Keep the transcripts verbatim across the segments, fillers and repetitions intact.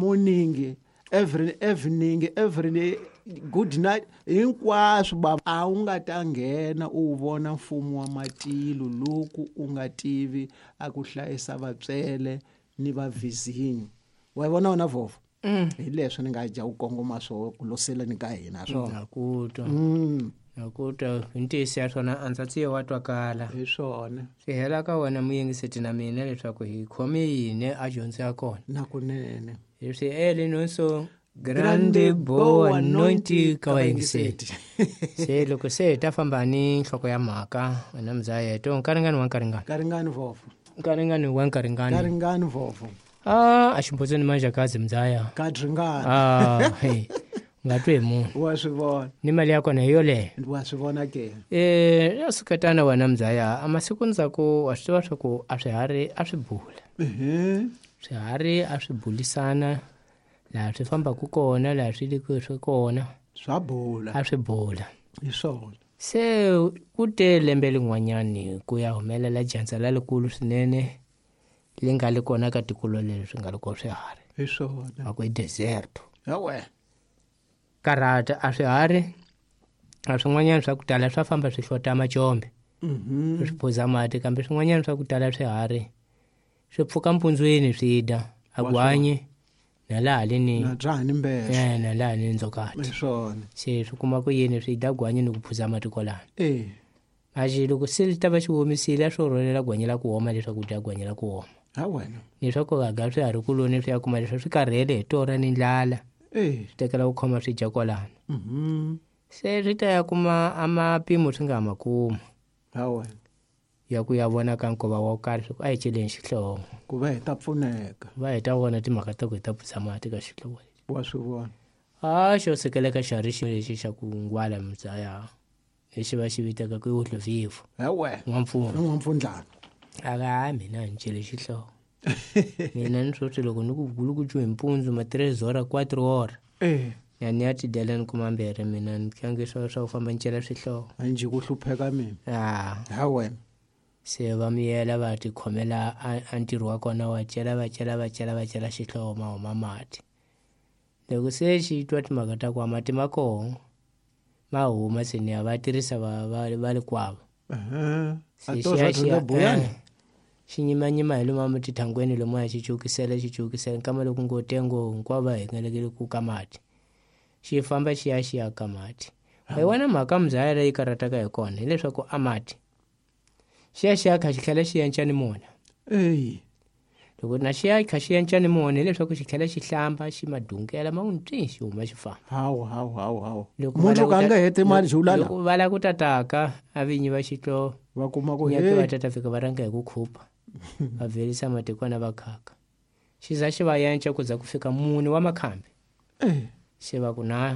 Morning, every evening, every good night, hinkwaswo baba a wu nga ta nghena u vona mfumo wa matilo loko u nga tivi a ku hlayisa vatswele ni vavizinyo. Wa vona wona vovho? Hi leswi ni nga dya u kongoma swo ku loseleni ka hina swona. Na ku twa. Mm. Na ku twa hi ntiyiso ya swona a ndza tsiye wa twakala. Hi swona. Swi hela ka wena muyingiseti na mina leswaku hi khome yini a dyondzo ya kona. Na kunene. Leswi ele nonso grande boa noite ka vayingiseti. Se loko se hi ta famba ni nhloko ya mhaka wena mzayeto nkaringani wa nkaringani. Nkaringani vovho. Nkaringani wa nkaringani. Nkaringani vovho. Ah, a ximbotseni manjakazi mzaya. Kadringani. Ah, hey. Nga twi munhu. Wa swi vona. Ni mali ya kona hi yoleyo. Wa swi vona ke. Eh, ya suketana wena mzaya, a masiku ndzhaku wa swi tiva swa ku a swiharhi a swi bula. Ehe. Swiharhi a swi bulisana laha swi fambaka kona, laha swi le swi kona. Swa bula. A swi bula. Hi swona. Se ku te lembe lin'wanyani ku ya humelela dyandza lerikulu swinene li nga li kona ka tiko leri swi nga li kona swiharhi. Hi swona. A ku i deserto. Hawe. Karata a swiharhi a swin'wanyana swa ku tala swa famba swi hlota macombe. Mhm. Swi phuza mati kambe swin'wanyana swa ku tala swiharhi swi pfuka mpundzweni swi dya a gwanyi na laha leni na dzani mbele. Eh, na laha ni ndzokati. Hi swona. Se swi kuma ku yini swi dya gwanyi ni ku phuza mati kwalano. Eh. Axi loko se li ta va xi womisile a swo rhwalela gwanyi la ku oma leswaku dya gwanyi la ku oma. Ha wena. Leswaku va ga swiharhi kuloni swi ya kuma leswi swi karhele hi torha ni ndlala. Eh. Swi tekela ku khoma swi dya kwalano. Mhm. Se swi ta ya kuma a mapimo swi nga ma kuma. Ha wena. Ya ku ya vona ka nkova wa karhi swi ku a hi celeni xihlovo. Ku va hi ta pfuneka. Va hi ta vona timhaka ta ku hi ta phuza mati ka xihlovo lexi. Wa swi vona. A xo sekeleka xiharhi xi lexi xa ku ngwala mzaya. Lexi va xi vitaka ku i wuhlovivu. Ha wena. N'wampfundla. N'wampfundlana. A ga mina ni cele xihlovo. Mina ni swo loko ni ku gulukucu hi mpundzu ma tres hora quatro hora. Eh. Ya ni ya tidyela ni kuma mbirhi mina ni tlangi swa swa ku famba ni cela swihlovo. A njhe ku hlupheka mina. Ah. Ha wena. Se va miyela va tikhomela a, a ntirho wa kona wa cela va cela va cela va cela xihlovo ma huma mati. Loko se xi twa timhaka ta ku mati ma kona ma huma se ni ya va tirhisa va va va le kwavo. Ehe. Se A xi to ya swa xi ya, dyondza buyani. eh, xi nyimanyima hi lomu tithangweni lomuya xi cukisela xi cukisela nkama loko ngo tengo hinkwavo va hengelekele ku ka mati. Xi famba xi ya xi ya ka mati. Hi wona mhaka mzaya leyi karhataka hi kona hileswaku a mati xi ya xi ya kha xi tlhela xi yenca ni mona. Eyi. Loko na xi ya kha xi yenca ni mona hileswaku xi tlhela xi hlamba xi madungela ma n'wi twi xi huma xi famba. Hawu, hawu, hawu, hawu. Loko va Munhu lava ka ku a nga ta- heti mali xi wula la. Loko va lava ku tataka a vinyi va xihlovo. Va kuma ku Nyake va hey. tata fika va rhanga hi ku khupa. Va verisa matikwana va khaka. Xi za xi va yenca ku za ku fika mune wa makhambi. Eh. Xi va ku na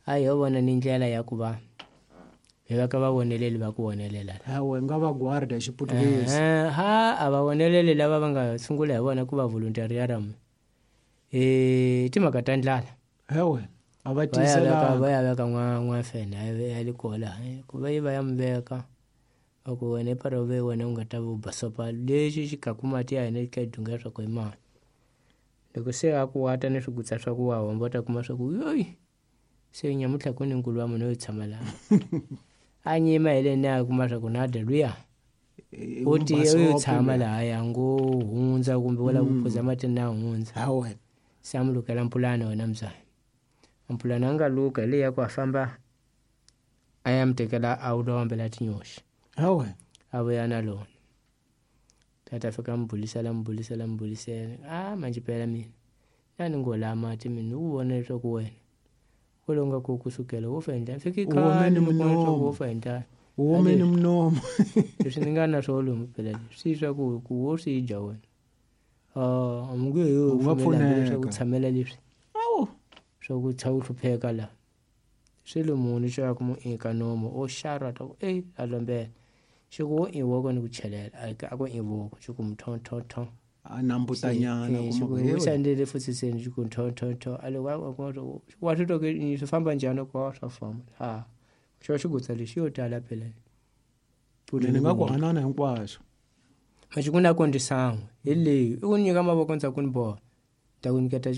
a hi yo vona ni ndlela ya ku va hi va ka va voneleli va ku vonelela. Hawe nga va guarda hi xiputukezi. Eh, ha a va voneleli lava va nga sungula hi vona ku va voluntariaram. Eh, timhaka ta ndlala. Hawe a va Va ya veka, tiyiselanga. va ya veka n'wa n'wafene ya le kola. Ku va yi va ya mi veka. A ku wena i para ve wena u nga ta va u basopa lexi xi kaku mati ya hina ka dunga swa ku i mani. Loko se a ku wata ni swigutsa swa ku wa homba u ta kuma swa ku yoyi. Se nyamutlha ku ni nkulu wa munhu yo tshama laha. A nyima hi le ni a kuma swa ku na dya luya. E, U ti u basopa tshama luya. laha ya ngo hundza kumbe u lava ku phuza mati na hundza. Ha wena. Se a mu lukela mpulana wena mzaya. Mpulana a nga luka hi leyi ya ku a famba a ya mi tekela a wu lombela tinyoxi. Ha wena. A vuya na lona. Tata fika mi bulisela, mi bulisela, mi bulisela. Ah, manjhe phela mina. Na ni ngo la mati mina u vona leswaku wena u lo nga ku kusukela wo fa endla. Fiki U hume khale ni ni vona leswaku munomu. wo fa endla. U hume ni munomu. Leswi ni nga na swona lomu phela leswi. Swi swa ku ku wo swi dya wena. Ah, a mi nge he U nga pfumeli hambi leswaku pfuneka. tshamela leswi. Awu. Swa ku tsha u hlupheka la. Swilo muni xo ya ku mu eka nomo o xarwa ta ku ey a lombela. Xi ku wo i voko ni ku chelela a ka ku i voko xi ku mtho tho tho. A nambutanyana Eh, kuma xi ku ku he u wena. sandele futhi seni xi ku tho tho tho a le wa wa ku wa swi twa ku swi famba njhani ku wa swa famba. Ha. Xo xi gutsa lexi yo tala phela. Mina ni nga ku hanana hinkwaswo. Maxi ku na ku ndisan'we hi leyi i ku nyika mavoko ndzhaku ni boha. Ta ku nyiketa